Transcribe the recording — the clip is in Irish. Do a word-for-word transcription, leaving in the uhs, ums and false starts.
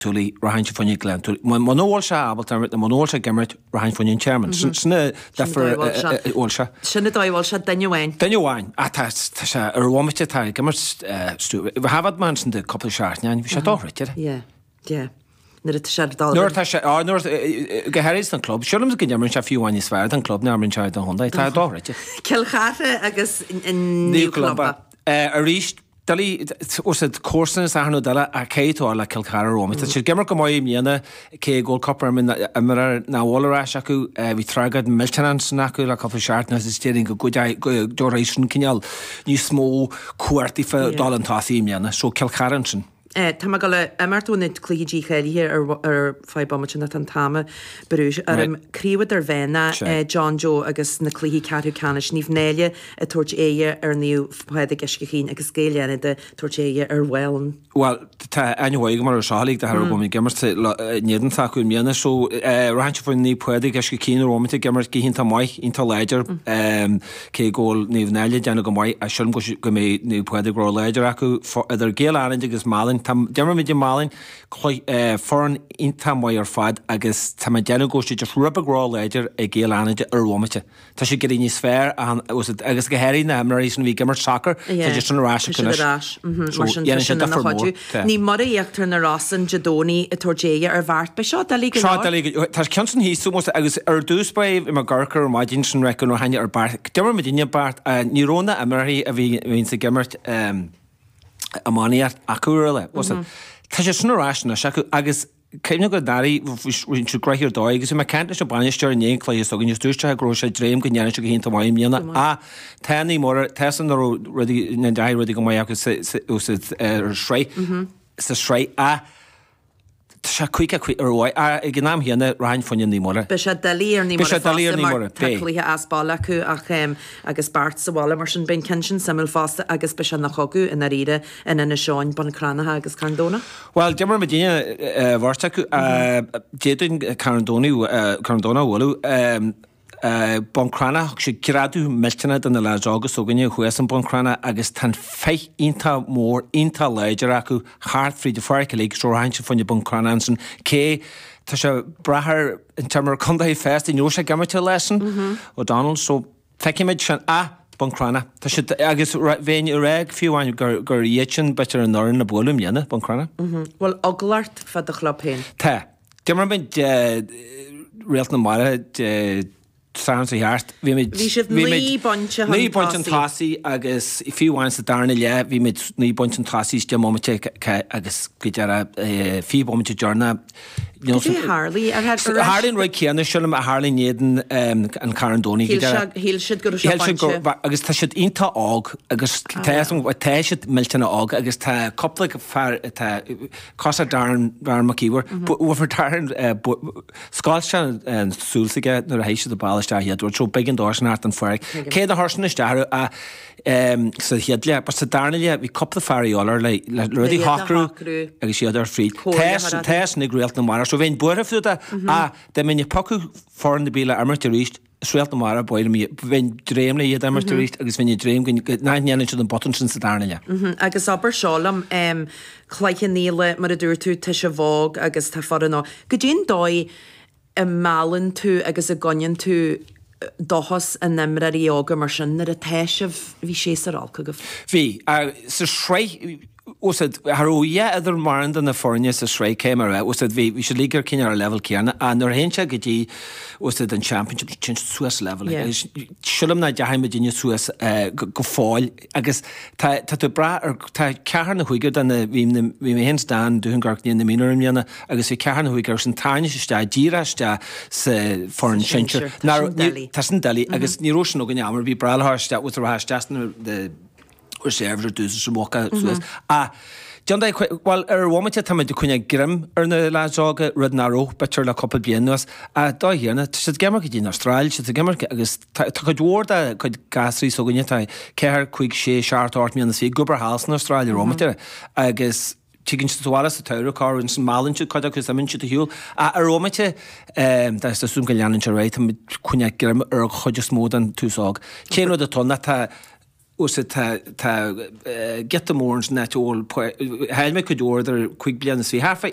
Tulaigh, rachainnse fá choinne Gleann Tsúilí. Muna bhfuil sé ábalta imirt, nó muna bhfuil sé ag imirt, rachainn fá choinne an Tearmann. Sin an difear a bhfuil sé. Sin an dóigh a bhfuil sé, duine amháin. Duine amháin. Ach tá sé ar bhomaite, tá ag imirt, thaifead mé ansin de cúpla seachtain, bhí sé dochreidte. Yeah, yeah. Nuair atá sé ar dul. Nuair atá sé, á, nuair, go háirithe don club. Sílim go n-imríonn sé fiú amháin níos fearr don club ná imríonn sé don chontae. Tá dochreidte. Cill Chartha agus Naomh Columba. Arís, doiligh, os ard comharsan is achan rud eile ach caithfidh tú a fháil le Cill Chartha romhat. Tá siad ag imirt go maith i mbliana, cé go bhfuil cúpla imreoir nach bhfuil ar ais acu. Bhí tragóid millteanach ansin acu le cúpla seachtain agus déarfainn go dtabharfaidh sin cineál níos mó cumhacht daofa dul chun tosaigh i mbliana. So Cill Chartha ansin. Tá mé ag dul a imeacht ó na cluichí dícháilithe ar feadh bomaite nó tá an t-am ag brú orm. Craobh Idirmheánach, John Joe agus na cluichí ceathrú ceannais, Naomh Náille ag tabhairt aghaidhe ar Naomh Pádraig Uisce Chaoin agus Gaeil Fhánada ag tabhairt aghaidhe ar Mhálainn. Bhuel, tá aithne mhaith agam orthu seo uilig, de thairbhe go bhfuil mé ag imirt in éadan s'acu i mbliana. So, rachainnse fá Naomh Pádraig Uisce Chaoin ar bhomaite ag imirt go hiontach maith, iontach láidir, cé go bhfuil Naomh Náille ag déanamh go maith, ach sílim go mbeidh Naomh Pádraig ró-láidir acu, idir Gaeil Fhánada agus Málainn. Tá, d'imir muid i Málainn, foireann iontach maith ar fad agus tá mé ag déanamh go bhfuil siad just rud beag ró-láidir ag Gaeil Fhánada ar bhomaite. Tá siad ag éirí níos fearr agus go háirithe na himreoirí sin a bhí ag imirt sacar, tá siad sin ar ais acu anois. Mar sin tá sin ina chuidiú. Naomh Muire Íochtar na Rosann Dé Domhnaigh ag tabhairt aghaidhe ar Bheart. Beidh seo doiligh go leor. Seo doiligh go leor. Tá ceann sin thíos agus ar dtús báire bhí mé ag amharc ar an maidin sin rec nuair a tháinig ar Beart. D'imir muidinne Beart, ní raibh na himreoirí a bhíonns ag imirt iománaíocht acu ar leith. Tá siad sin ar ais anois acu agus cuimhnigh go ndáiríre bhí siad gnoitheach ar dóigh agus bhí mé ag caint leis an bainisteoir i ndiaidh an chluiche s'againn agus dúirt sé go raibh sé ag dréim go ndéanfaidh siad go hiontach maith i mbliana ach tá Naomh Muire, tá san nach raibh rudaí, nach ndeachaigh rudaí go maith acu sa sraith, sa sraith ach tá sé cúig cúig ar mhaith ach ag an am chéanna rachainn fá choinne Naomh Muire. Beidh sé doiligh ar Naomh Muire fosta mar tá cluiche as baile acu ach agus Beart sa bhaile mar sin beidh an ceann sin suimiúil fosta agus beidh sé ina chogadh i ndáiríre in Inis Eoghain, Bun Cranncha agus Carn Domhnach. Bhuel, d'imir muidinne beirt acu. D'fhéadfainn Carn Domhnach a bhualadh. Bun Cranncha, thug siad greadadh millteanach do na leaids óga s'againne thuas in Bun Cranncha agus tá an féith iontach mór, iontach láidir acu thart fríd an pháirc uilig so rachainnse fá choinne Bun Cranncha ansin. Cé tá sé ag brath ar an t-imreoir contae fosta, ní raibh sé ag imirt an lá sin, O'Donnell, so feicfimid sin. Ach Bun Cranncha, tá siad, agus bheinn ag rá fiú amháin gur gur iad sin b'fhéidir an fhoireann le bualadh i mbliana, Bun Cranncha. Bhfuil eagla ort fá do chlub féin? Tá. D'imir muid Réalt na Mara Dé Sathairn seo thart. Bhí muid Bhí sibh naoi bpointe chun naoi bpointe chun tosaigh. tosaigh agus fiú amháin sa darna leath bhí muid naoi bpointe chun tosaigh is deich mbomaite agus go deireadh fiche bomaite deireanach. Cad é a tharlaigh? Ar Tharlaigh an rud céanna sílim a tharlaigh in éadan an Carn Domhnaigh go deireadh. Shíl siad go raibh sé bainte. Agus tá siad iontach óg agus tá tá siad millteanach óg agus tá cúpla fear atá cosúil le Darren Darren Mac Íomhair. Bhuel Darren scoilt sé an súil s'aige nuair a théigh siad an ball isteach chéad uair so b'éigean dó sin theacht an pháirc. Cé nár chuir sin isteach orthu ach sa chéad leath, but sa darna leath bhí cúpla fear a dhíobháil air le le rudaí a shocrú agus iad ar fríd. Tá sin ag Réalt na Mara so bheinn buartha fúthu ach dá mbeinn ag piocadh foireann ar bith le imirt arís is Réalt na Mara ab fhearr liom bheinn ag dréim le iad a imirt arís agus bheinn ag dréim go nach ndéanann siad an botún sin sa darna leath. Agus abair seo liom, Cloich Cheann Fhaola, mar a dúirt tú, tá sibh óg agus tá foireann óg. Goidé an dóigh a meallann tú agus a gcoinníonn tú dóchas in imreoirí óga mar sin nuair atá sibh, bhí séasúr olc agaibh. Bhí. Sa sraith, bhfuil a fhios agat, cha raibh a dhath idir mórán de na foirne sa sraith cé mar a, bhfuil a fhios agat, bhí, bhí siad uilig ar cineál ar an leibhéal céanna ach nuair a théann sé go dtí, bhfuil a fhios agat, an championship, téann siad suas leibhéal. Agus sílim nach ndeachaigh muidinne suas go fóill agus tá, tá tú ag brath ar, tá ceathrar nó cúigear de na, bhí, bhí mé féin is Dan Dúnghort na mionúir i mbliana agus bhí ceathrar nó cúigear sin tarraingthe isteach, díreach isteach sa foireann sinsir. Tá sin doiligh agus ní raibh sin againn am ar bith breá le isteach, bhfuil a fhios agat, isteach sna reserves ar dtús is an bhocach suas. Ach déan é, bhuel, ar bhomaite tá muid ag coinneáil greim ar na leaids óga, rud nach raibh, b'fhéidir le cúpla bliain anuas. Ach dóigh chéanna, tá siad ag imirt go dtí an Astráil, siad ag imirt agus tá cuid mhór de cuid gasraí s'againne, tá ceathair, cúig, sé, seacht, ocht mbliana is fiche ag obair thall san Astráil ar bhomaite agus tigeann siad abhaile sa tsamhradh, corruair ansin meallann siad cuid acu is imíonn siad ar shiúl. Ach ar bhomaite, tá súil agam go leanann sé ar aghaidh, tá muid ag coinneáil greim ar an chuid is mó den tús óg. Cén rud atá ann ná tá, bhfuil a fhios agat, tá, tá giota mór ansin áit a bhfuil, chaill mé cuid mhór idir cúig bliana is fiche, thart fá